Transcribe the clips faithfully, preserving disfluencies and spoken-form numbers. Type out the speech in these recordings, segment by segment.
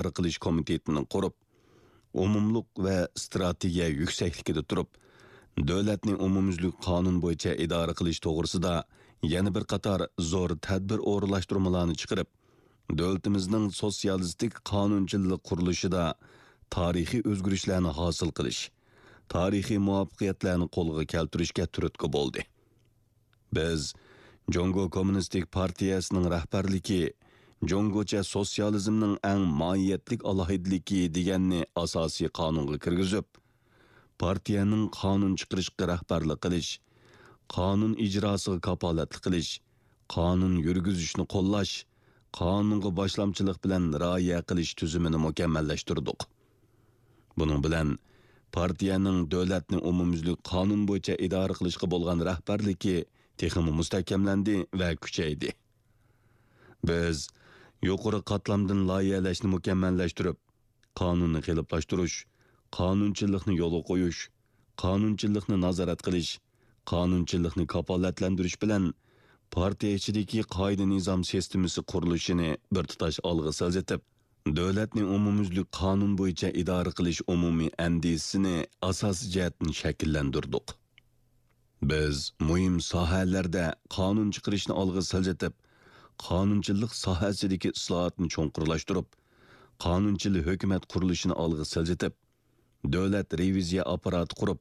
ئىدارە قىلىش كومىتېتىنى قۇرۇپ، ئومۇملۇق ۋە ئىستراتېگىيە يۈكسەكلىكىدە تۇرۇپ، دۆلەتنى ئومۇميۈزلۈك قانۇن بويىچە ئىدارە قىلىش توغرىسىدا يەنە بىر قاتار زور تەدبىر ئورۇنلاشتۇرمىلارنى چىقىرىپ، دۆلىتىمىزنىڭ سوتسىيالىستىك قانۇنچىللىق قۇرۇلۇشىدا تارىخىي ئۆزگىرىشلەرنى ھاسىل قىلىش، تارىخىي مۇۋەپپەقىيەتلەرنى قولغا كەلتۈرۈشكە تۈرتكە بولدى. بىز جۇڭگو كوممۇنىستىك پارتىيەسىنىڭ رەھبەرلىكى جۇڭگوچە سوتسىيالىزمنىڭ ئەڭ ماھىيەتلىك ئالاھىدىلىكى دېگەننى ئاساسىي قانۇنغا كىرگۈزۈپ، پارتىيەنىڭ قانۇن چىقىرىشقا رەھبەرلىك قىلىش، قانۇن ئىجراسىغا كاپالەتلىك قىلىش، قانۇن يۈرگۈزۈشنى قوللاش، قانۇنغا باشلامچىلىق بىلەن رىئايە قىلىش تۈزۈمىنى مۇكەممەللەشتۈردۇق. بۇنىڭ بىلەن پارتىيەنىڭ دۆلەتنى ئومۇميۈزلۈك قانۇن بويىچە ئىدارە قىلىشقا بولغان رەھبەرلىكى تېخىمۇ مۇستەھكەملەندى ۋە كۈچەيدى. بىز يۇقىرى قاتلامدىن لايىھەلەشنى مۇكەممەللەشتۈرۈپ، قانۇننى قېلىپلاشتۇرۇش، قانۇنچىللىقنى يولغا قويۇش، قانۇنچىللىقنى نازارەت قىلىش، قانۇنچىللىقنى كاپالەتلەندۈرۈش بىلەن پارتىيە ئىچىدىكى قائىدە-نىزام سىستېمىسى قۇرۇلۇشىنى بىر تۇتاش ئالغا سىلجىتىپ، دۆلەتنى ئومۇميۈزلۈك قانۇن بويىچە ئىدارە قىلىش ئومۇمىي ئەندىزىسىنى ئاساسىي جەھەتتىن شەكىللەندۈردۇق. بىز مۇھىم ساھەلەردە قانۇن چىقىرىشنى ئالغا سىلجىتىپ، قانۇنچىلىق ساھەسىدىكى ئىسلاھاتنى چوڭقۇرلاشتۇرۇپ، قانۇنچىل ھۆكۈمەت قۇرۇلۇشىنى ئالغا سىلجىتىپ، دۆلەت رېۋىزىيە ئاپپاراتى قۇرۇپ،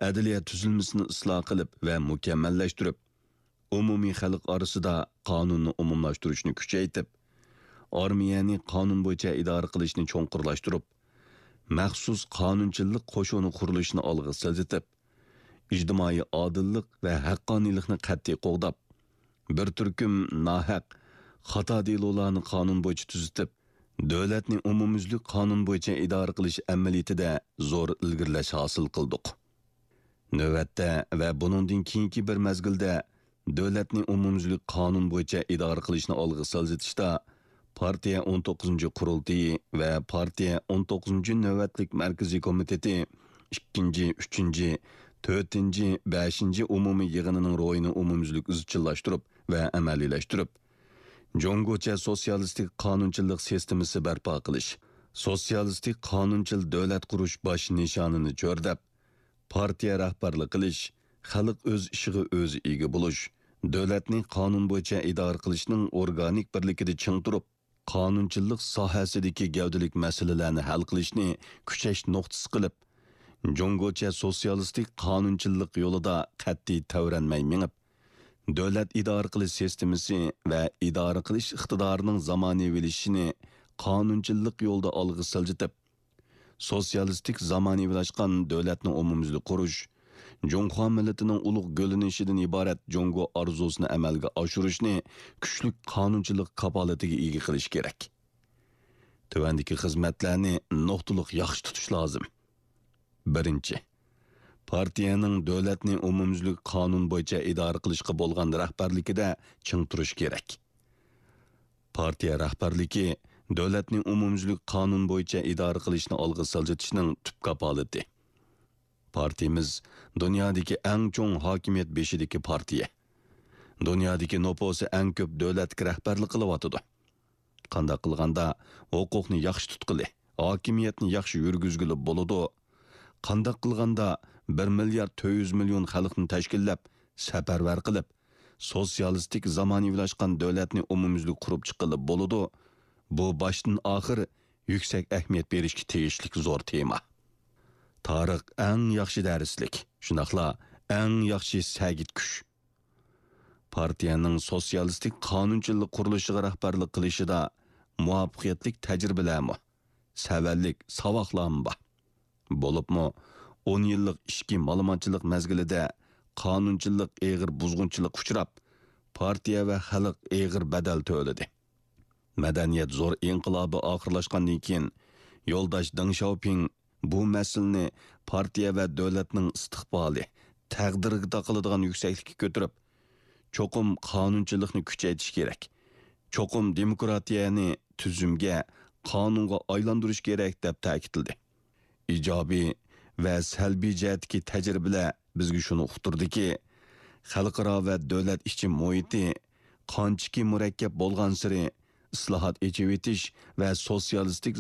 ئەدلىيە تۈزۈلمىسىنى ئىسلاھ قىلىپ ۋە مۇكەممەللەشتۈرۈپ، ئومۇمىي خەلق ئارىسىدا قانۇننى ئومۇملاشتۇرۇشنى كۈچەيتىپ، ئارمىيەنى قانۇن بويىچە ئىدارە قىلىشنى چوڭقۇرلاشتۇرۇپ، مەخسۇس قانۇنچىلىق قوشۇنى قۇرۇلۇشىنى ئالغا سىلجىتىپ، ئىجتىمائىي ئادىللىق ۋە ھەققانىيلىقنى قەتئىي قوغداپ، بىر تۈركۈم ناھەق، خاتا دېلولارنى قانۇن بويىچە تۈزىتىپ، دۆلەتنى ئومۇميۈزلۈك قانۇن بويىچە ئىدارە قىلىش ئەمەلىيىتىدە زور ئىلگىرىلەش ھاسىل قىلدۇق. نۆۋەتتە ۋە بۇنىڭدىن كېيىنكى بىر مەزگىلدە دۆلەتنى ئومۇميۈزلۈك قانۇن بويىچە ئىدارە قىلىشنى ئالغا سىلجىتىشتا، پارتىيە ئون توققۇزىنچى قۇرۇلتىيى ۋە پارتىيە ئون توققۇزىنچى نۆۋەتلىك مەركىزىي كومىتېتى ئىككىنچى، ئۈچىنچى، تۆتىنچى، بەشىنچى ئومۇمىي يىغىنىنىڭ روھىنى ئومۇميۈزلۈك ئىزچىللاشتۇرۇپ ۋە ئەمەلىيلەشتۈرۈپ، جۇڭگوچە سوتسىيالىستىك قانۇنچىلىق سىستېمىسى بەرپا قىلىش، سوتسىيالىستىك قانۇنچىل دۆلەت قۇرۇش باش نىشانىنى چۆرىدەپ، پارتىيە رەھبەرلىك قىلىش، خەلق ئۆز ئىشىغا ئۆزى ئىگە بولۇش، دۆلەتنى قانۇن بويىچە ئىدارە قىلىشنىڭ ئورگانىك بىرلىكىدە چىڭ تۇرۇپ، قانۇنچىلىق ساھەسىدىكى گەۋدىلىك مەسىلىلەرنى ھەل قىلىشنى كۈچەش نۇقتىسى قىلىپ، جۇڭگوچە سوتسىيالىستىك قانۇنچىللىق يولىدا قەتئىي تەۋرەنمەي مېڭىپ، دۆلەت ئىدارە قىلىش سىستېمىسى ۋە ئىدارە قىلىش ئىقتىدارىنىڭ زامانىۋىلىشىشىنى قانۇنچىللىق يولىدا ئالغا سىلجىتىپ، سوتسىيالىستىك زامانىۋىلاشقان دۆلەتنى ئومۇميۈزلۈك قۇرۇش، جۇڭخۇا مىللىتىنىڭ ئۇلۇغ گۈللىنىشىدىن ئىبارەت جۇڭگو ئارزۇسىنى ئەمەلگە ئاشۇرۇشنى كۈچلۈك قانۇنچىلىق كاپالىتىگە ئىگە قىلىش كېرەك. تۆۋەندىكى خىزمەتلەرنى نۇقتىلىق ياخشى تۇتۇش لازىم. بىرىنچى، پارتىيەنىڭ دۆلەتنى ئومۇميۈزلۈك قانۇن بويىچە ئىدارە قىلىشقا بولغان رەھبەرلىكىدە چىڭ تۇرۇش كېرەك. پارتىيە رەھبەرلىكى دۆلەتنى ئومۇميۈزلۈك قانۇن بويىچە ئىدارە قىلىشنى ئالغا سىلجىتىشنىڭ تۈپ كاپالىتى. پارتىيىمىز دۇنيادىكى ئەڭ چوڭ ھاكىمىيەت بېشىدىكى پارتىيە. دۇنيادىكى نوپۇسى ئەڭ كۆپ دۆلەتكە رەھبەرلىك قىلىۋاتىدۇ. قانداق قىلغاندا ھوقۇقنى ياخشى تۇتقىلى، ھاكىمىيەتنى ياخشى يۈرگۈزگىلى بولىدۇ؟ قانداق قىلغاندا بىر مىليارد تۆت يۈز مىليون خەلقنى تەشكىللەپ، سەپەرۋەر قىلىپ، سوتسىيالىستىك زامانىۋىلاشقان دۆلەتنى ئومۇميۈزلۈك قۇرۇپ چىققىلى بولىدۇ؟ بۇ باشتىن ئاخىر يۈكسەك ئەھمىيەت بېرىشكە تېگىشلىك زور تېما. تارىخ ئەڭ ياخشى دەرسلىك، شۇنداقلا ئەڭ ياخشى سەگىتكۈچ. پارتىيەنىڭ سوتسىيالىستىك قانۇنچىلىق قۇرۇلۇشىغا رەھبەرلىك قىلىشىدا مۇۋەپپەقىيەتلىك تەجرىبىلەرمۇ، سەۋەنلىك ساۋاقلارمۇ بار. بولۇپمۇ ئون يىللىق ئىچكى مالىمانچىلىق مەزگىلىدە قانۇنچىلىق ئېغىر بۇزغۇنچىلىققا ئۇچراپ، پارتىيە ۋە خەلق ئېغىر بەدەل تۆلىدى. مەدەنىيەت زور ئىنقىلابى ئاخىرلاشقاندىن كېيىن، يولداش دېڭ شياۋپىڭ بۇ مەسىلىنى پارتىيە ۋە دۆلەتنىڭ ئىستىقبالى، تەقدىرىگە تاقىلىدىغان يۈكسەكلىككە كۆتۈرۈپ، چوقۇم قانۇنچىلىقنى كۈچەيتىش كېرەك، چوقۇم دېموكراتىيەنى تۈزۈمگە، قانۇنغا ئايلاندۇرۇش كېرەك، دەپ تەكىتلىدى. ئىجابىي ۋە سەلبىي جەھەتتىكى تەجرىبىلەر بىزگە شۇنى ئۇقتۇردىكى، خەلقئارا ۋە دۆلەت ئىچى مۇھىتى قانچىكى مۇرەككەپ بولغانسېرى، ئىسلاھات، ئېچىۋېتىش ۋە سوتسىيالىستىك